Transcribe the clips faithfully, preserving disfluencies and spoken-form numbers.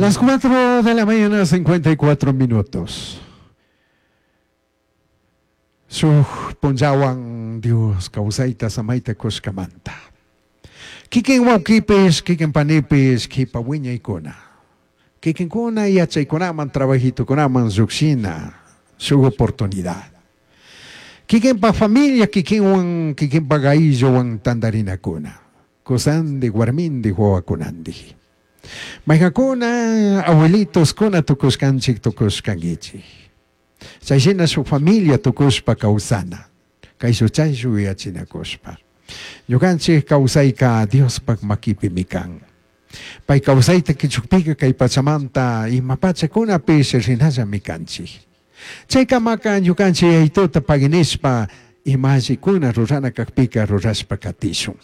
Las cuatro de la mañana, cincuenta y cuatro minutos. Shuj punllawan Dios kawsayta samayta kushkamanta. Kikin wawkipish, kikin panipish, kipa wiñaykuna. Kikinkuna yachaykunaman, trabajitukunaman llukshina, shuk oportunidad. Kikinpa familia, kikinwan, kikinpa aylluwan tantarinakuna. Kusandi, warmindi, wawakunandi. Mayqankuna abuelitos kuna tukushkanchik, tukushkankichik. Chayshina shuk familia tukushpa kawsana. Kayshu chayshu yuyachinakushpa. Ñukanchik kawsayka Diospak makipimi kan. Pay kawsayta kichukpika kay pachamanta ima pachakunapish rinallami kanchik. Chaykamaka ñukanchik yayituta paginishpa ima allikuna rurana kakpika rurashpa katishun.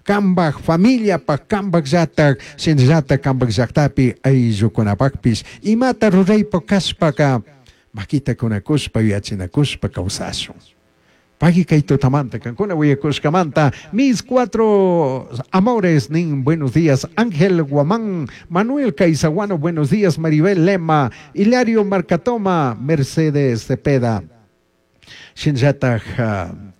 Kambaj familiapak, kambaj llatak, shinallatak kambaj llaktapi ayllukunapakpish imata ruraypa kashpaka makita kunakushpa yuyachinakushpa kawsashun. Pagui kay tutamanta, kankuna willakushkamanta, mis cuatro amores, nin, buenos días, Ángel Guamán, Manuel Caizaguano, buenos días, Maribel Lema, Hilario Marcatoma, Mercedes Cepeda, Shinllataj, uh,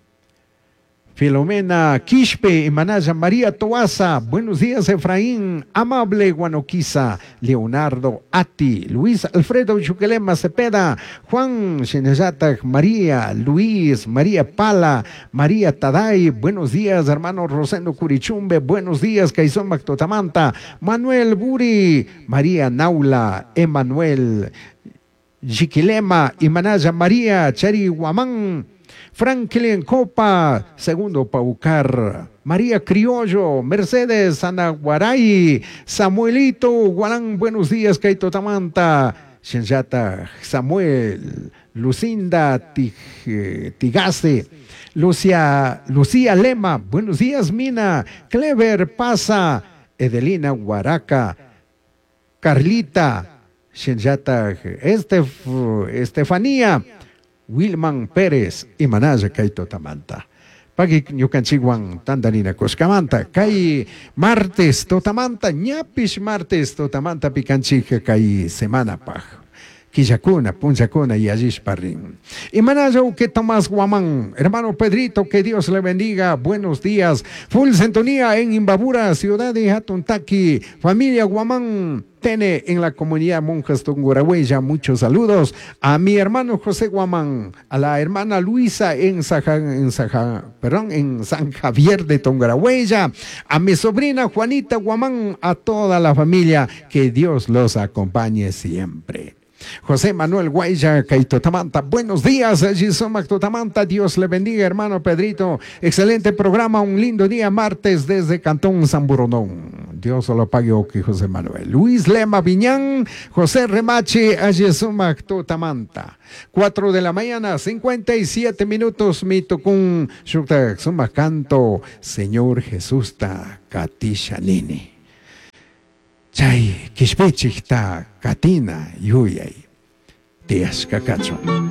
Filomena Quispe, Manaya María Toaza, buenos días Efraín, Amable Guanoquiza, Leonardo Ati, Luis Alfredo Chuquelema Cepeda, Juan Shinyatak, María, Luis, María Pala, María Taday, buenos días hermano Rosendo Curichumbe, buenos días Caizón Mactotamanta, Manuel Buri, María Naula, Emanuel Jiquilema, Imanaya María, Chari Guamán, Franklin Copa, Segundo Paucar, María Criollo, Mercedes Anaguaray, Samuelito Guarán, buenos días, Kaito Tamanta, Shenjata, Samuel, Lucinda Tigase, Lucia, Lucía Lema, buenos días, Mina, Clever Pasa, Edelina Guaraca, Carlita, Shenjata, Estef, Estefanía, Wilman Pérez y Manaya Kaito Tamanta. Pagui ñukanchikwan tandarina kushkamanta. Kay martes tutamanta, ñapish martes tutamanta pikanchik kay semana paj. Quillacuna, punchacuna y allishpa rin. Y Manaya que Tomás Guamán, hermano Pedrito, que Dios le bendiga, buenos días. Full sintonía en Imbabura, ciudad de Jatuntaqui, familia Guamán, Tene en la comunidad Monjas Tungurahua. Muchos saludos a mi hermano José Guamán, a la hermana Luisa en, Saja, en, Saja, perdón, en San Javier de Tungurahua, a mi sobrina Juanita Guamán, a toda la familia, que Dios los acompañe siempre. José Manuel Guaya, Kaitotamanta. Buenos días, Sumak Totamanta. Dios le bendiga, hermano Pedrito. Excelente programa, un lindo día martes desde Cantón Samborondón. Dios lo pague, ok, José Manuel. Luis Lema Viñán, José Remache, Sumak Totamanta. Cuatro de la mañana, cincuenta y siete minutos, mi tukun, sumak canto, Señor Jesús ta katisha nini. Chay kishpichikta katina yuyay tiyashka kachun.